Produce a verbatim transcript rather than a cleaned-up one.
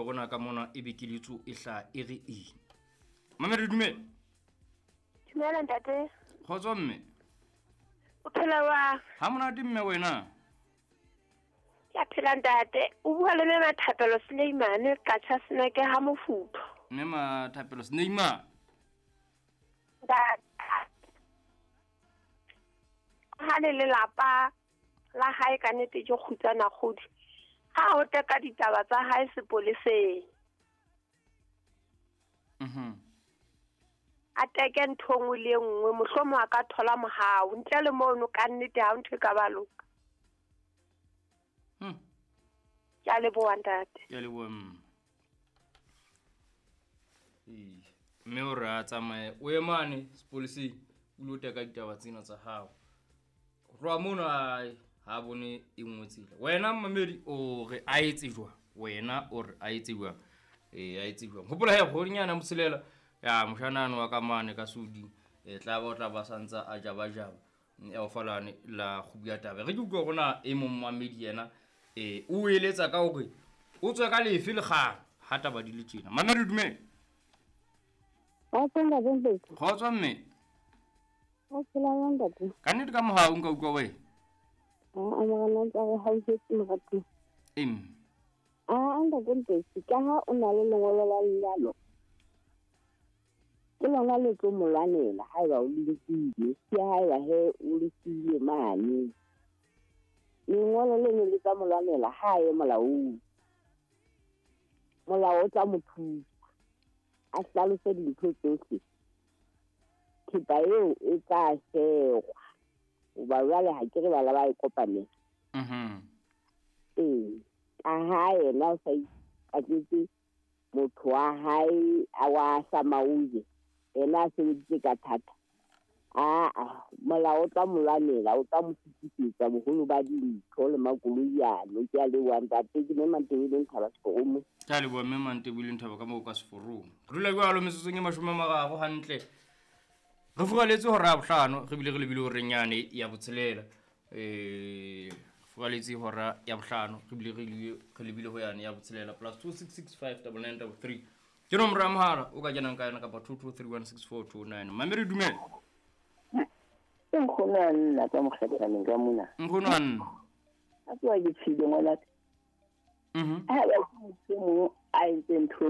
utlwe rona ka mona e be keletso e hlaha e re eng. Mamedi dumela. Dumela ntate. Kgotso mme. O phela wa? Ha monate mme wena. Ke a phela ntate. O bua le mme Mathapelo Suleimane ka tjha seneke ha mofuthu. Mme Mathapelo Suleimane. Ntate. Ha le lelapa la hae ka nnete ke kgutsana kgodi. Ha o teka ditaba tsa hae sepoleseng. Mhm. A teke ntho nngwe le nngwe mohlomong a ka thola mohau ntle le mono ka nnete ha ntho e ka ba loka. Hmm. Ke a leboha ntate. Ke a leboha mme. Ee, mme o re a tsamaye o ye mane sepoleseng o lo teka ditaba tsena tsa hao. Ho tloha mono a ha bone e nngwe tsela. Wena mmamedi o re a etse jwang? Wena o re a etse jwang? Ee, a etse jwang? Hopola he kgwedinyana motshelela ya moshanano wa ka mane ka Sudi e tla ba o tla ba santsa a jaba jaba ya o falane la kgubu ya taba. Re ke utlwa rona e mong mmamedi yena e o eletsa ka hore o tswe ka lefe lekgang ha taba di le tjena. Mamedi dumela. Kgotso mme. O phela jwang ntate? Ka nnete ka mohau nka utlwa wena. A morena ntse re hauhetse moratuwa. Em. A ntate Mpetsi, ka ha o na le lengolo la lenyalo, ke lona le tlo mo lwanela haeba o le nkile, ke haeba he o le siile mane. Lengolo leno le tla mo lwanela ha a ye molaong. Molao o tla mo thusa, a hlalose dintho tsohle. Thepa eo e tla shegwa hoba jwale ha ke re bana ba e kopanela. Mhm. Ee, ka ha yena o sa ikatletse motho wa hae a wa Samauje, yena a sebeditse ka thata. Aa, molao o tla mo lwanela, o tla mo fetisetsa boholo ba dintho le makoloi ano. Ke a leboha ntate, ke mme Mantebeleng Thaba Seforong. Ke a leboha mme Mantebeleng Thaba ka moo ka Seforong. Re dula jwalo metsotsong e mashome a mararo hantle. Re furaletse hora ya bohlano, re bile re lebile horeng yane ya botshelela. Eh, furaletse hora ya bohlano, re bile re lebile, re lebile ho yane ya botshelela plus two six six five double nine double three. Ke nomoro ya mohala o ka kenang ka yona kapa two two three one six four two nine. Mamedi dumela. Ke nkgono a nna ka mokgathaneng ka mona. Nkgono a nna. A tloha ke tshile ngwanaka. Mhm. Ha ba ke motho e mong a entseng ntho